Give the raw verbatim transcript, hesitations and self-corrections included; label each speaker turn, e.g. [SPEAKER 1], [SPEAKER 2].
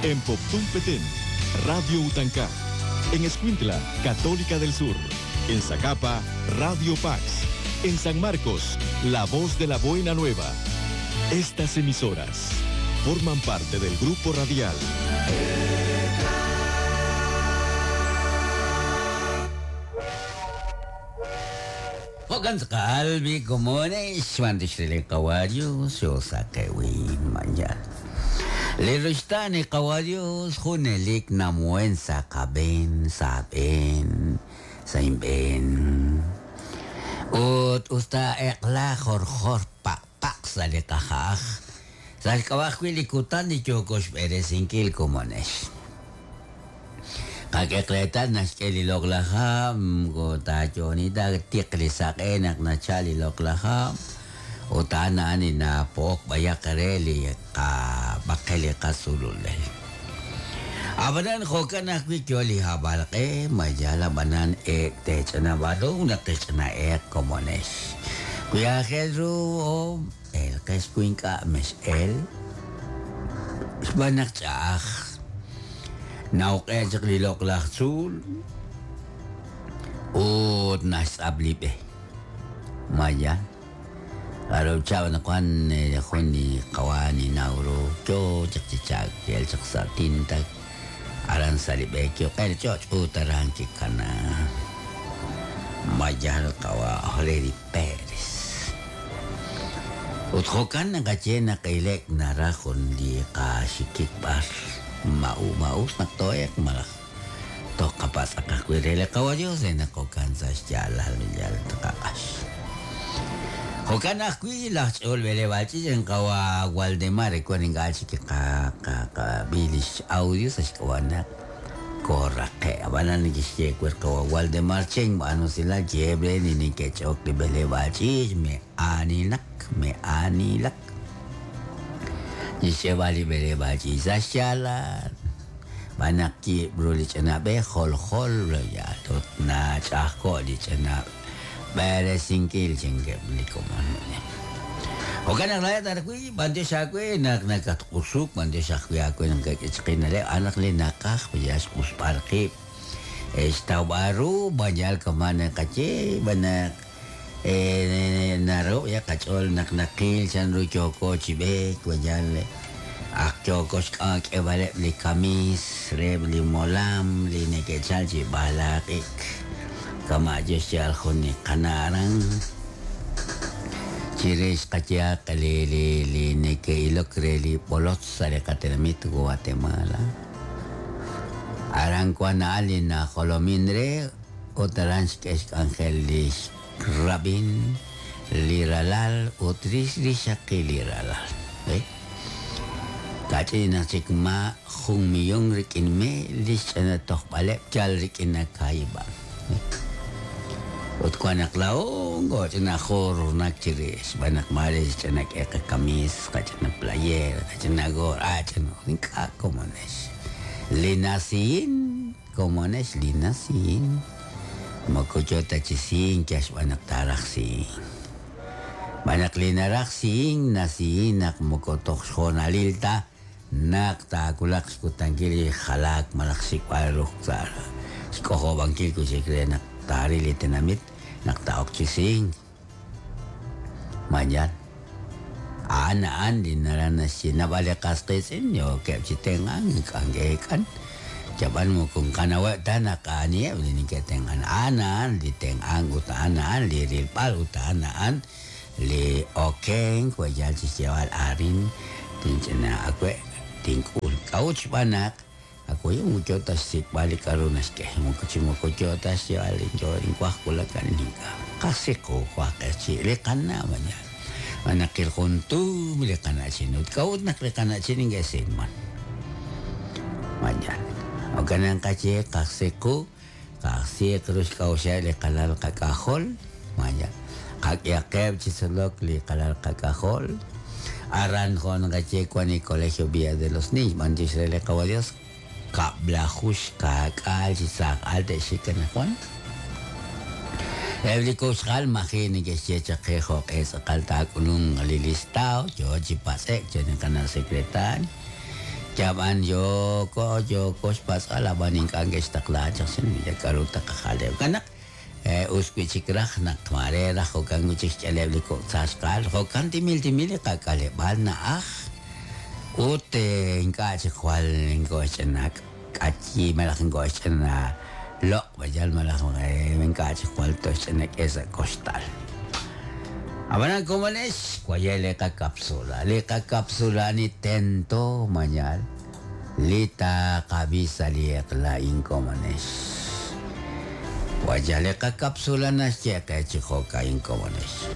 [SPEAKER 1] En Poptún Petén, Radio Utancá. En Escuintla, Católica del Sur. En Zacapa, Radio Pax. En San Marcos, La Voz de la Buena Nueva. Estas emisoras forman parte del grupo radial
[SPEAKER 2] Kalbi komones mandishrele kawario sosakewin manya. Lerustani kawarios junelik namuen sakaben saben saimben. Ut usta ekla jorjor pak pak sale kahaj. Salkawajwi likutan ni chokos berezinkil komones. Kakekletan naskeli loklaham go tachonita tikli sakenak na chali loklaham utana ani na pok bayakareli ka bakeli kasululel. Abanan hokan akwi kyoli habalke mayala banan e techana barong na techana e komones. Kuya Pedro o el keskuinka mes el banak chah. Nauqeeq li loqlaj tzuul ut naxtz'ablibe maya arow chaw nakuan jun li qawani nawro kyo chaq chichak kel chaq sa tintak aran salibe kyo qel choch ut aran kikana maya qawa Freddy Pérez ut jokan naqache naqilek narajon li qaxikik bar mau mau naktoek malak tokapas akakwirele kawayo se nakokansa yalal yal takash hokan akwi lach olvele bachi en kawa Waldemar kwaninga chi ka ka ka bilish audio sa kawana korake abanan ni kishye kwer kawa Waldemar cheng ano sila jebre ni ni kechok li bele bachi me anilak me anilak Isebali bele bachi sashala banaki brulich na be hol hol ya tot na chako lich na bere sinkil chenge likomon Okan la tar kui bande shakwe nak nakat qusuk bande shakwe akwe nak ichqinale anak li nakaj yas qusparqi estabaru banyal kamana kache banak eh naro ya kachol nak nakil chan ru choko chibe kwanyal ak choko ak ebale li kamis reb li molam li nekechal chi balakik kama jeshal khoni kanaran chires kachia li li li nekeilok reli polot sale katenamit Guatemala aran kwana alina jolomindre otaranch kesh angelis Rabin liralal utris lishakiliralal eh kachina chikma jun millón rikin me lichana toqbalep chal rikin kaiba ut kwanak laong go china khor nakchiris banak maris chana ek kamis kachana player kachana gor achana inka komones linasin komones linasin Makochota chisin kashwanak taraksin. Banak linaraksin nasinak mokotok jonalilta nak takulak skutankili halak malaksik paruk sar. Skoho bangkil kusikre nak tarili tenamit nak taok chisin. Mayan. Ana an dinarana sinabale kasqisin yo kepchitengan kangekan. Jaban mo kung kanawa tanaka niya ni ketengan anan li tengan utanaan li rilpal utanaan li okeng kwayal sisewal arin tinchena akwe tinkul kauch banak ako yung mucho tas balik arunas ke mucho mucho tas yalin jo inkwah kulakan ninka kasi ko kwa kasi lekana manya manakil kuntu lekana sinut kaut nak lekana sining gesin man manya o ganang kache kaksiku kaksi terus kau siya li kalal kakahol manya kakyakeb chisolok li kalal kakahol aran kon kache kwani Colegio Villa de los Niños mantis rele kawadios kablahush kakal chisak alte shikanakwan Evli koshal mahini que checha quejo es kalta kunung lilistao yo chipasek chene kanal secretario Yab'an yoko yoko xpatz'al ab'an ink'a' nke'xtaqla chaq xin k'aru taqajaleb' kanaq us wi' chik raj naq mare raj jo'kan wi' chik xch'eleb' li kok' tzaxqal jo'kan timil timil li qak'aleb'aal na'aj ut ink'a' chik jwal nko'xch'ina k'ayi malaj nko'xch'ina loq' bayal malaj ink'a' chik jwal toxch'ina k'e sa' koxtal. Ab'anan komonex waye li qakapsula li qakapsula ni tento mañal li taqab'i sa' li eq'la inkomonex. Waya li qakapsula naxye qe chi jo'ka'in komonex.